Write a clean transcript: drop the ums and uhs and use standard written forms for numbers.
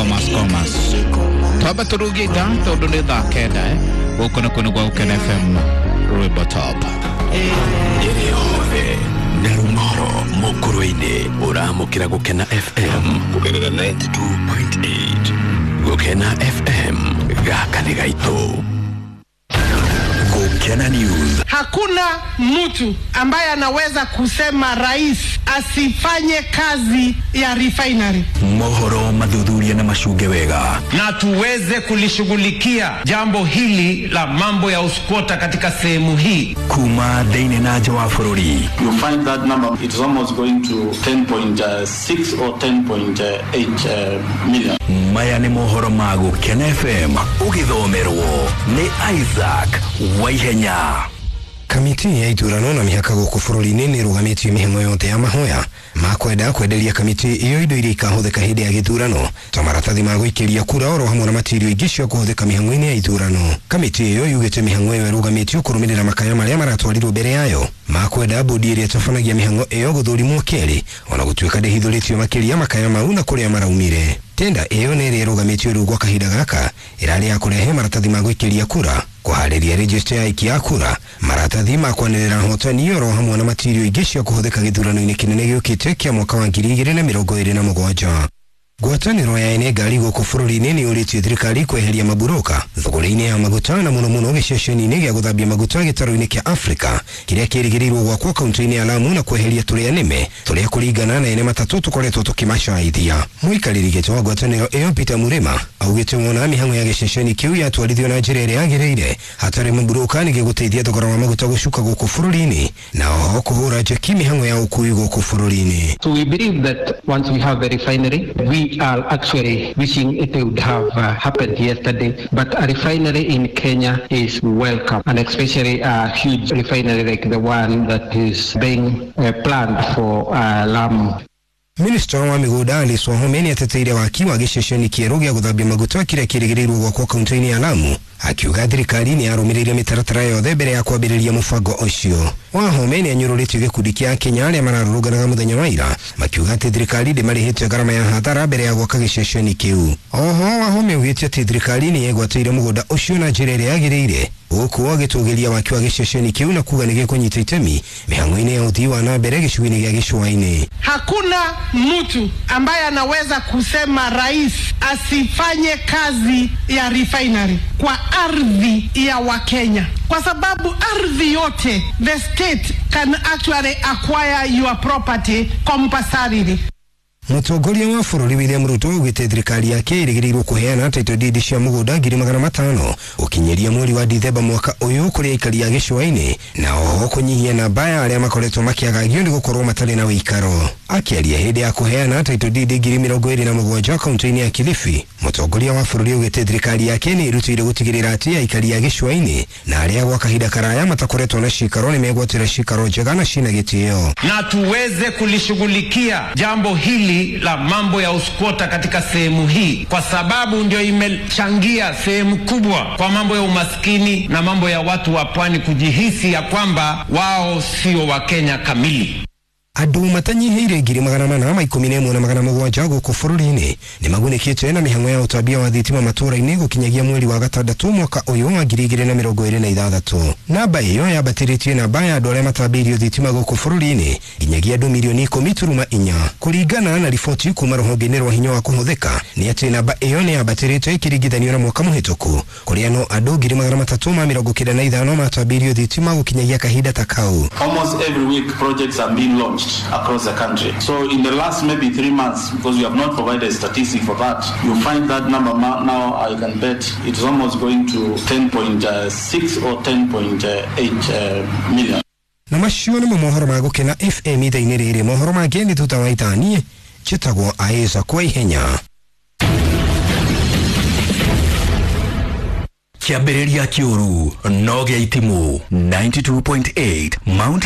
Commerce Commerce. Twamba turugie ithaa tondu ni thaa 9 guku nĩ kũndũ gwa Gũkena FM Rwĩmbo Top. Ĩrĩ hothe na rumoro mũkũrũ-inĩ ũramũkĩra Gũkena FM kũgerera 92.8. Gũkena FM, gaka nĩ gaitũ. Gũkena News. Hakuna mtu ambaye anaweza kusema rais asifanye kazi ya refinery. Mohoro mathuthuria na macunge wega, na tuweze kulishughulikia jambo hili la mambo ya uskwota katika sehemu hii. Kuma thĩinĩ na nja wa bũrũri. You find that number it is almost going to 10.6 or 10.8 million. Maya nĩ mohoro ma Gũkena FM ũgĩthomerwo nĩ Isaac Waihenya. Kamiti ya ithurano na mĩhaka gũkũ bũrũri-inĩ nĩ ĩrũgamĩtie mĩhang'o yothe ya mahoya ma kwenda kwenderia kamiti ĩyo indo iria ikahũthĩka hĩndĩ ya gĩthurano ta maratathi ma gũikĩria kura oro hamwe na matirio ingĩ cia kũhũthĩka mĩhang'o-inĩ ya ithurano. Kamiti ĩyo yugĩte mĩhang'o ĩyo ĩrũgamĩtio kũrũmĩrĩra makaya marĩa maratwarirwo mbere yayo ma kwenda bodi ĩrĩa ĩtabanagia mĩhang'o ĩyo gũthũrimwo kerĩ, ona gũtuĩka ndĩhithũrĩtio makĩria makaya mau na kũrĩa maraumire. Tenda ĩyo nĩ ĩrĩa ĩrũgamĩtio rĩu gwa kahinda gaka ĩrarĩ ya kũrehe maratathi ma gũikĩria kura, kũharĩria register ya aikia a kura, maratathi ma kwanĩrĩra hotani oro hamwe na matirio ingĩ cia kũhũthĩka gĩthurano-inĩ kĩnene gĩũkĩte kĩa mwaka wa 2027. Ngwatanĩro ya ene ngari gũkũ bũrũri-inĩ nĩ yũrĩtie thirikari kweheria maburoka thogora-inĩ ya maguta na mũno mũno gĩceceni-inĩ gĩa gũthambia maguta gĩtarũ-inĩ kĩa Afrika kĩrĩa kĩrĩgĩrĩirwo gwakwo kaunti-inĩ ya Lamu, na kweheria tũrĩa nĩme tũrĩa kũringana na ene matatũ tũkoretwo tũkĩmacaithia. Mũikarĩri gĩtĩ wa ngwatanĩro ĩyo Peter Murima augĩte wona mĩhang'o ya gĩceceni kĩu yatwarithio na njĩra ĩrĩa yagĩrĩire hatarĩ maburoka nĩ gĩgũteithia thogora wa maguta gũcuka gũkũ bũrũri-inĩ na oho kũhũra njeki mĩhang'o ya ũkui gũkũ bũrũri-inĩ. So we believe that once we have the refinery, we are actually wishing it would have happened yesterday, but a refinery in Kenya is welcome, and especially a huge refinery like the one that is being planned for Lamu. Minista wa mĩgũnda Alice Wahome nĩateteire waki wa gĩceceni kĩerũ gĩa gũthambia maguta kĩrĩa kĩrĩgĩrĩirwo gwakwo kaunti-inĩ ya Lamu, akiuga thirikari nĩ yarũmĩrĩire mĩtaratara yothe mbere ya kwambĩrĩria mũbango ũcio. Wahome nĩanyũrũrĩtio gĩkundi kĩa Akenya arĩa mararũrũnganaga mũthenya wa ira makiuga atĩ thirikari ndĩmarĩhĩte ngarama ya hathara mbere ya gwaka gĩceceni kĩu. Oho Wahome augĩte atĩ thirikari nĩ yegwatĩire mũgũnda ũcio na njĩra ĩrĩa yagĩrĩire, gũkũ agĩtũgĩria waki wa gĩceceni kĩu na kuga nĩgĩkũnyita itemi mĩhang'o-inĩ ya ũthii wa na mbere gĩcigo-inĩ gĩa gĩcũa-inĩ. Hakuna mtu ambaye anaweza kusema rais asifanye kazi ya refinery kwa ardhi ya Wakenya, kwa sababu ardhi yote the state can actually acquire your property compulsorily. Mũtongoria wa bũrũri William Ruto augĩte thirikari yake ĩrĩgĩrĩirwo kũheana title deed cia mũgũnda 500,000 gũkinyĩria mweri wa Dithemba mwaka ũyũ kũrĩ aikari a gĩcũa-inĩ, na oho kũnyihia namba ya arĩa makoretwo makĩagagio nĩ gũkorwo matarĩ na ũikaro. Akĩaria hĩndĩ ya kũheana title deed 27,000 kaunti-inĩ ya Kilifi, mũtongoria wa bũrũri augĩte thirikari yake nĩ ĩrutĩire gũtigĩrĩra atĩ aikari a gĩcũa-inĩ na arĩa gwa kahinda karaya matakoretwo na cikaro nĩ megwatĩra cikaro njega na cina gĩtĩo. Na tuweze kulishughulikia jambo hili la mambo ya uskwota katika sehemu hii, kwa sababu ndio imechangia sehemu kubwa kwa mambo ya umaskini na mambo ya watu wa pwani kujihisi ya kwamba wao sio Wakenya kamili. Andũ matanyihĩire 417,700 gũkũ bũrũri-inĩ nĩ magunĩkĩte na mĩhang'o ya ũtambia wa thitima matũũra-inĩ gũkinyagia mweri wa gatandatũ mwaka ũyũ wa 2026. Namba ĩyo yambatĩrĩtie namba ya andũ arĩa matambĩirio thitima gũkũ bũrũri-inĩ nginyagia andũ milioni 10.4 kũringana na riboti kuma rũhonge-inĩ rwa hinya wa kũhũthĩka. Nĩ atĩ namba ĩyo nĩ yambatĩrĩte ĩkĩringithanio na mwaka mũhĩtũku kũrĩa no andũ 395,000 matambĩirio thitima gũkinyagia kahinda ta kau. Almost every week projects are being launched across the country. So in the last maybe 3 months, because we have not provided statistic for that, you find that number now I can bet it's almost going to 10.6 or 10.8 million. Na macio nĩmo mohoro ma Gũkena FM ithaa-inĩ rĩrĩ. Mohoro mangĩ nĩ thutha wa ithaa. Niĩ njĩtagwo Isaac Waihenya. Kĩambĩrĩria kĩũru no gĩa itimũ 92.8 Mount